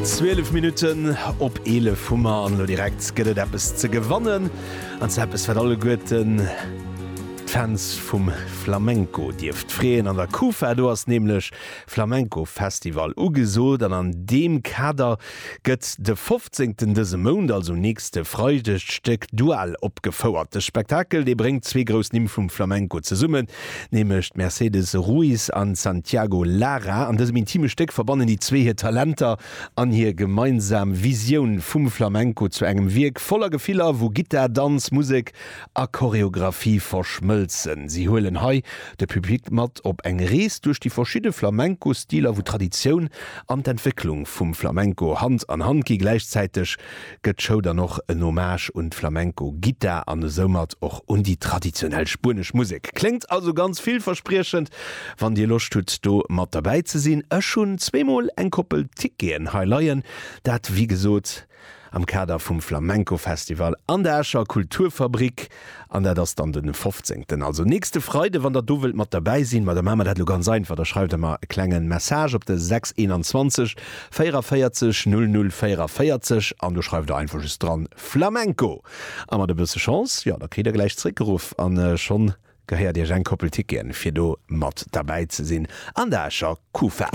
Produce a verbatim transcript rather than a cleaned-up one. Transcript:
Zwielef Minutten op eelef hu mer an elo direkt gëtt et eppes ze gewannen, an zwar eppes wat alleguerten d'Fans vum Flamenco dierft freeën. An der Kufa, do ass nämlech Flamenco Festival ugesot an an deem Kader gëtt de fofzéngten dëse Mount, also nächste Freideg, d'Stéck Dual opgefouert. De Spektakel, dee bréngt zwee grouss Nimm vum Flamenco zesummen, nämlech d'Mercedes Ruiz an d'Santiago Lara. An dësem intime Stéck verbannen déi zwee hir Talenter an hir gemeinsam Visioun vum Flamenco zu engem Wierk voller Gefiller, wou Gittar, Danz, Musek a Choreographie verschmëlzen. Si huelen hei de Public mat op eng Rees duerch déi verschidde Flamenco-Stiler, wou d'Traditioun an d'Entwécklung vum Flamenco Hand an Hand gi. Gläichzäiteg gëtt d'Show dann och en Hommage un d'Flamenco-Gittar an esoumat och un déi traditionell spuenesch Musek. Kléngt also ganz villverspriechend. Wann Dir Loscht hutt do mat derbäi ze sinn, ech hunn zweemol eng Koppel Ticketen hei leien, dat wéi gesot am Kader vum Flamenco Festival an der Escher Kulturfabrik an dat ass dann den fofzéngten, also nächste Freide. Wann der do wëllt mat derbäi sinn, ma da maache mer dat elo ganz einfach, da schreift der mer e klengen Message op de sechs eenanzwanzeg véieraféierzeg null null véieraféierzeg an do schreift der einfach just dran Flamenco a mat e bësse Chance, jo, da kritt der gläich zréckgeruff an schonn gehéiert iech eng Koppel Ticketen fir do mat derbäi ze sinn an der Escher Kufa.